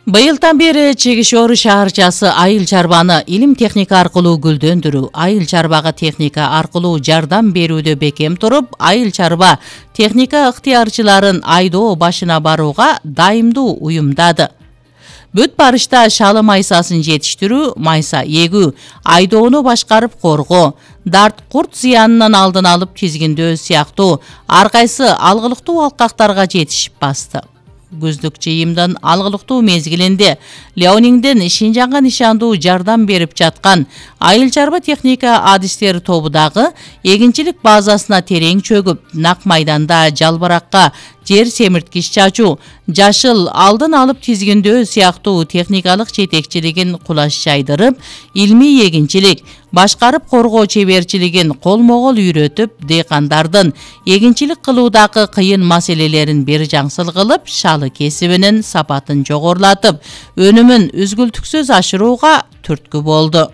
Быйылдан бери Чегишори шаарчасы айыл чарбаны илим техника аркылуу гүлдөндүрүү, айыл чарбага техника аркылуу жардам берүүдө бекем туруп, айыл чарба техника ыктыярчыларын айдоо башына барууга дайымдуу уюмдады. Бүт барышта шалы майсасын жетиштирүү, майса эгүү, айдоону башкарып коргоо, дарт курт зыянынан алдын алып тизгиндөө сыяктуу ар кайсы алгылыктуу алкактарга жетишип басты. Күздүк жыйымдын алгылыктуу мезгилинде Леониңден Шинжаңга нишандуу жардам берип жаткан айыл чарба техника адистери тобу дагы эгинчилик базасына терең чөгүп, нак майданда жалбыракка жер семирткич чачуу, жашыл алдын алып тизгиндөө сыяктуу техникалык жетекчилигин кулаш жайдырып, илмий эгинчилик, башкарып коргоо чеберчилигин колмо-кол үйрөтүп, дыйкандардын эгинчилик кылуудагы кыйын маселелерин бир жаңсыл кылып, шалы кесибинин сапатын жогорулатып, өнүмүн үзгүлтүксүз ашырууга түрткү болду.